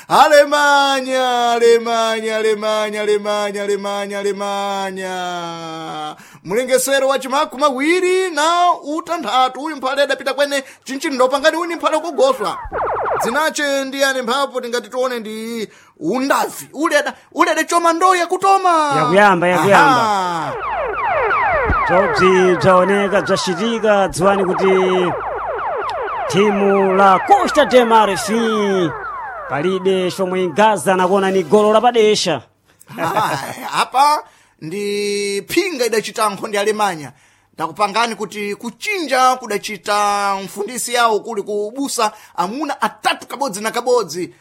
Alemanya, Alemanya, Alemanya, Alemanya, Alemanya, Alemanya. Mulengesero wa chimakumi awiri na utanthatu uyu mphale adapita kwene chinchino pangani uni mphale kugoswa. Dzinache ndi yani mphapo tingati tione ndi undavi. Ule ada ule adachoma ndoyo yakutoma. Yakuyamba, yakuyamba. Aha. Bzobzi bzaoneka bzacitika dziwani kuti thimu la Costa de Marfin palibe chomwe ingaza nakuona ni golo lapadesha. Ah, apa ndi phinga idachita nkhondo ya Alemanya ndakupangani kuti kuchinja kudachita mfundisi yawo kuli kubusa amuna atatu kabodzi na kabodzi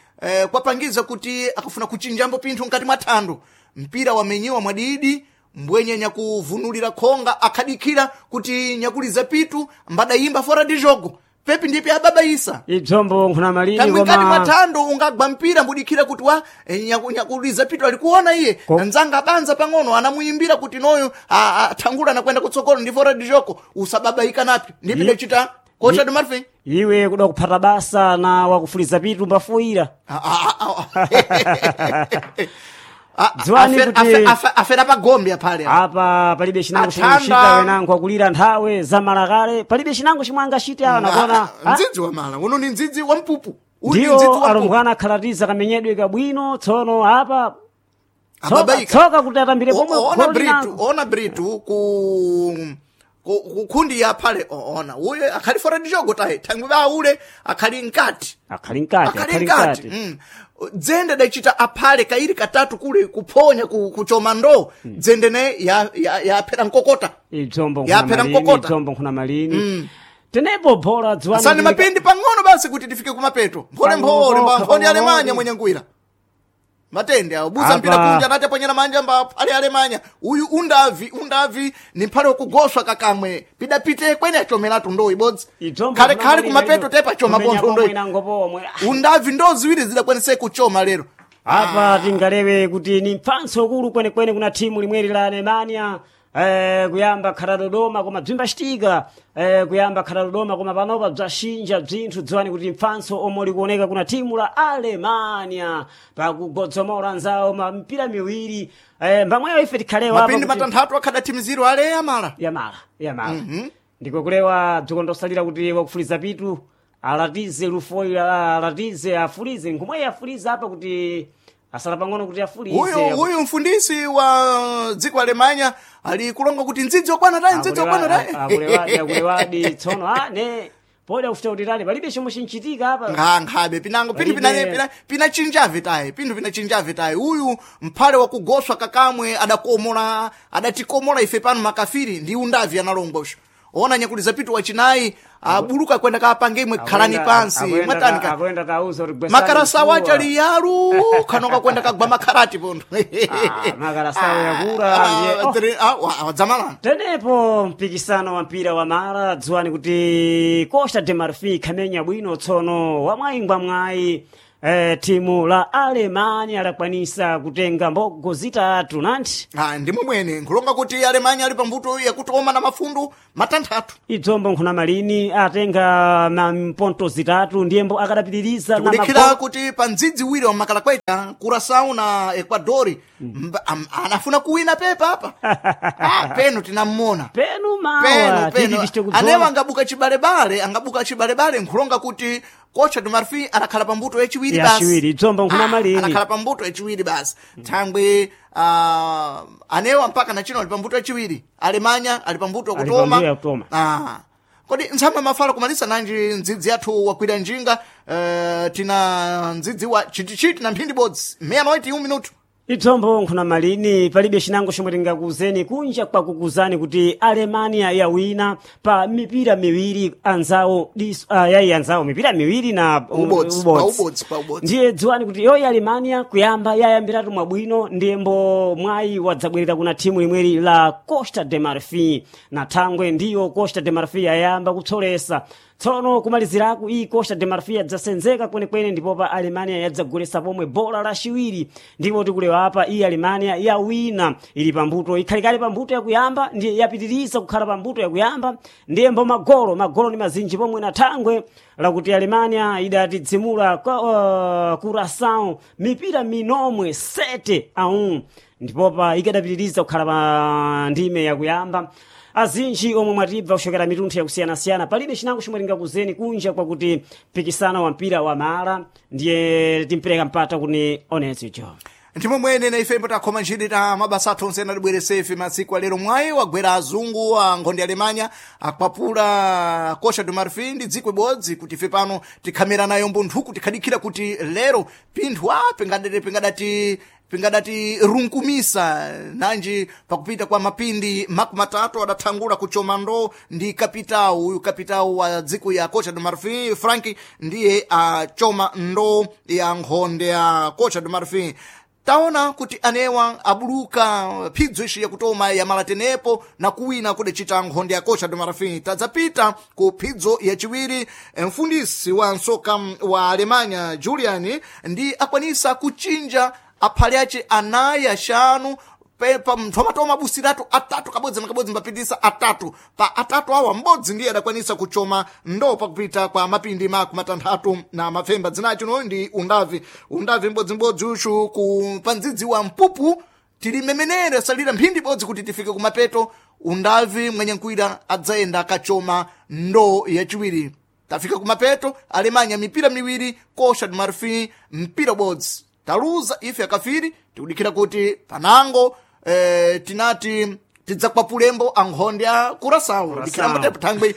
kwapangiza kuti akafuna kuchinjambo pinthu mkati mwa thando mpira wamenyiwa mwadidi mbwenye nyakuvunulira khonga akhadikira kuti nyakuliza pitu mbadayimba fora di jogo pepi ndipe ababaisa Ibzombo nkhuna malini kamwe mkati mwa koma thando ungagwa mpira mbudikira kuti wa nyakuliza pitu alikuona iye nzanga abanza pang'ono anamuyimbira kuti noyo athangula nakwenda kutsogolo ndi fora dijoko usababaika napi ndipi dachita kocha de marfin iwe kuda kuphata basa na wakufuliza pitu mbafuyira. Dziwani kuti- afera pagombe aphale apa. Apa palibe chinango chimwe Athanda. chita wenango akulira nthawe zamalakale palibe chinango chimwe angachite awa nakuona Ah, mdzidzi wa mala uno ni mdzidzi wa mpupu Uyu ni mdzidzi ndiyo wa mpupu alumbwana akhalatiza kamenyedwe kabwino tsono apa tsoka, Ababaika. tsoka kuti atambire pomwe Ona golo britu linango. ona britu ku kundi ya phale ona uye akhali fora dijogo tayi thangwi baule akhali nkati akhali mkati akhali akhali nkati mkati dzende dachita aphale kairi katatu kule kuphonya kuchoma ndo dzende ne yaphera nkokota ibzombo Yaphera nkhuna malini nkokota. ibzombo nkhuna malini tenepo bhola dziwani asani kuti- mapindi pang'ono basi kuti tifike kumapeto mphole mphole Pang'ono, mphoni alemanya pang'ono. mwenye ngwira matende awo busa Apa. mpira kunja anati aponyera manja mba phale alemanya uyu undavi undavi ni mphale wokugoswa kakamwe pidapite kwene achomeratu ndo ibodzi Ibzombo khale nkhuna khale malini kumapeto idzo. tepa choma Kumenya pontho pomwe ndoi nango pomwe undavi ndo ziwiri zidakwanise kuchoma lero apa tingalewe kuti ni mphanso ukulu kwenekwene kuna thimu limweri la alemania kuyamba khala dodoma koma bzimbacitika kuyamba khala dodoma koma panopa bzaxinja bzinthu dziwani kuti mphanso omwe likuoneka kuna thimu la alemania pakugodzomora nzawo ma mipira miwiri mbamweyo ife tikhalewa apa mapindi kuti- matanthatu akhadathimiziro ale amala yamala yamala ndiko kulewa bzikondostalira kuti wakufuliza pitu alatize lufoila alatize afulize nkhumweyi afulize apa kuti asala pang'ono kuti afulize uyu uyu mfundisi wa dziko alemanya ali kulonga kuti ndzidzi okwana tayi ndzidzi okwana tayi akulewadi akulewadi tsono a ne poda kufuta kuti tali palibe chomwe chinchitika apa nkhankhabe pinango pindu Palibe. pina chinjave tayi pindu pina chinjave tayi uyu mphale wakugoswa kakamwe adakomola adatikomola ife pano makafiri ndi undavi analongwa usho ona nyakuliza pitu wachinayi abuluka kwenda kapange imwe khalani pansi mwatanika akuenda tauza kuti gwesani makarasawo mfuwa. achali yalu khanoka kwenda kagwa makharati pontho Ah, makarasawo yakula ndiye oh. Wadzamalana tenepo mpikisano wa mpira wa mara dziwani kuti costa de marfin khamenya bwino tsono wamwayingwa mwayi timu la alemanya lakwanisa kutenga mbogo zitatu nanti Ah, ndimwe mwene nkulonga kuti alemanya ali pambuto yakutoma na mafundu matanthatu idzombo nkhuna malini atenga na mponto zitatu ndiyembo akadapitiriza na tikulikhira mago- kuti pa mdzidzi wiri wa makalakweta kurasau na ecuadori anafuna kuwina pepa apa peno tinamona penu mawa peno titi peno tichite anewo kudzola angabuka chibalebale angabuka chibalebale nkulonga kuti kocha de marfin anakhala pambuto yachiwiri basi Yachiwiri, dzombo nkhuna malini. anakhala pambuto yachiwiri basi thangwe anewa mpaka na chino ali pambuto yachiwiri alemanya ali pambuto Ali yakutoma pambuto yakutoma. Kodi ntsamba mafala kumalisa nanji ndzidzi yathu wakwira njinga tina ndzidzi wa chitichiti na mphindi bodzi meya noiti un minuto Idzombo nkhuna malini palibe chinango chomwe tingakuuzeni kunja kwakukuzani kuti alemania yawina pa mipira miwiri anzawo yayi anzawo mipira miwiri na Ubodzi, pa ubodzi, pa ubodzi. ndiye dziwani kuti yoyi alemania kuyamba yayambiratu mwabwino ndiyembo mwayi wadzabwerera kuna thimu limweri la costa de marfin na thangwe ndiyo costa de marfin yayamba kutsolesa Tsono kumaliziraku iyi Costa de Marfil yadzasenzeka kwenekwene ndipo pa Alemania yadzagulesa pomwe bola laciwiri, ndipo tikulewa apa iyi Alemania yawina, ili pambuto, ikhalikali pambuto yakuyamba, ndiye yapitiriza kukhala pambuto yakuyamba, ndiye mbo magolo ni mazinji pomwe na thangwe lakuti Alemania idatidzimula Curaçao mipira minomwe 7-1, ndipopa ikadapitiriza kukhala pa ndime yakuyamba. Azinji omwe mwatibva kuchokera mitunthu yakusiyanasiyana, palibe chinango chomwe tingakuzeni kunja kwakuti mpikisano wa mpira wa mala, ndiye timpereka mpata kuni onetso icho. Ndimo mwene na ife takhoma ntchito ta mabasa athu onse anatibweresa ife masiku alero. Mwayi wagwera azungu a nkhondo ya Alemanya akwapula Costa do Marfil ndi dziko ibodzi kuti ife pano tikhamera nayo mbunthuku, tikhadikhira kuti lero pinthu a pingadati runkumisa nanji pakupita kwa mapindi 30 adathangula kuchoma ndo ndi kapitawu uyu, kapitawu wa dziko ya Costa do Marfil Frank, ndiye achoma ndo ya nkhonde ya Costa do Marfil. Taona kuti anewa abuluka phidzo ici yakutoma ya malatenepo na kuwina kudacita nkhonde ya Costa do Marfil. Tadzapita ku phidzo yaciwiri, mfundisi wa nsoka wa Alemanya Julian ndi akwanisa kuchinja aphale ace anayi, axanu, pa mthomatoma abusiratu atatu kabodzi na kabodzi, mbapitisa atatu pa atatu awa m'bodzi ndiye adakwanisa kuchoma ndo pakupita kwa mapindi 66. Dzinacho no ndi undavi, undavi mbodzimbodzi uchu ku pandzidzi wa mpupu. Tilimemenere salira mphindi ibodzi kuti tifike kumapeto. Undavi mwenye nkwira adzayenda akachoma ndo yachiwiri. Tafika kumapeto, Alemanya mipira miwiri, Costa do Marfil mpira ubodzi. Taluza ife akafiri, tikudikira kuti panango tinati tidzakwapulembo ankhonde a Curaçao, dikirambo tepo thangwe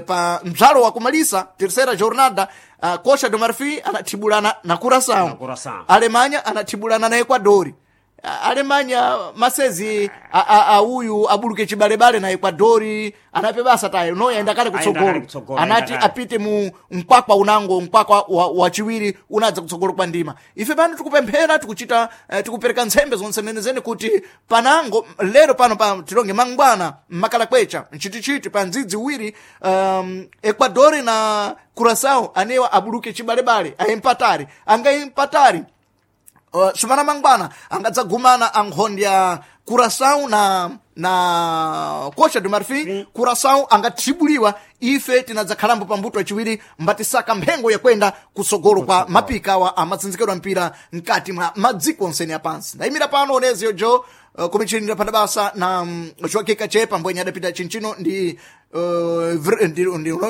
pa mzalo wa kumalisa terceira jornada, Costa do Marfil anathibulana na Curaçao, Na Curaçao. Alemanya anathibulana na Equadori. Alemanya masezi auyu abuluke chibalebale na Equadori anape basa tayo no yaenda kale Aenda kutsogolo, kale kutsogolo, anati aenda kale. apite mu mkwakwa unango mkwakwa wachiwiri unadza kutsogolo kwa ndima. Ife pano tikupemphera, tikuchita tikupereka ntsembe zonse nenezene kuti panango lero pano pa tilonge mangwana mmakala kwecha mchitichiti pa ndzidzi uwiri, Equadori na Curaçao anewa abuluke chibalebale aempatari angaimpatari. Sumana mangwana angadzagumana ankhonde ya Curaçao na Costa do Marfil. Curaçao angathibuliwa, ife tinadzakhalambo pambuto achiwiri mbatisaka mphengo yakwenda kutsogolo kwa mapika awa amatsinzikidwa mpira mkati mwa madziko onsene apansi. Ndayimira pano oneziyo jo kumichilinira phanda basa na Joaquim Kachepa mbwenye adapita chinchino ndi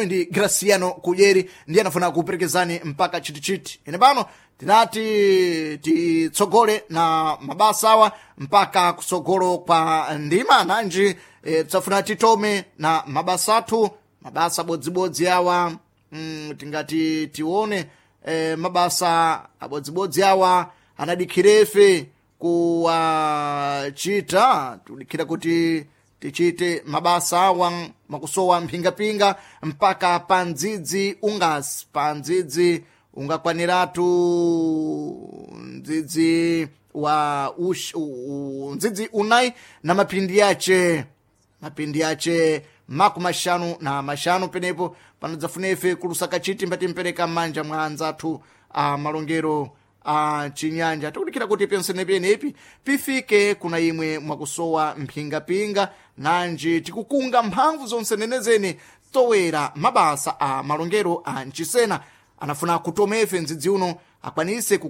ndi Graciano Kudyeri ndiye anafuna kuperekezani mpaka chitichiti. Ine pano tinati titsogole na mabasa awa mpaka kutsogolo kwa ndima nanji tsafuna titome na mabasa athu, mabasa bodzibodzi awa, tingati tione mabasa abodzibodzi awa anadikhirefe kuwachita, tudikhira kuti tichite mabasa awa makusowa mphingapinga mpaka pa ndzidzi ungasi pa ndzidzi ungakwaniratu ndzidzi wa ndzidzi unayi na mapindi yace 55 penepo panadzafuna ife kulusaka chiti mbatimpereka m'manja mwa anzathu a malongero a chinyanja. Tikudikira kuti pensenepenepi pifike kuna imwe mwakusowa mphingapinga nanji tikukunga mphamvu zonse nenezene towera mabasa a malongero a mchisena anafuna kutomefe ndzidzi uno akwanise.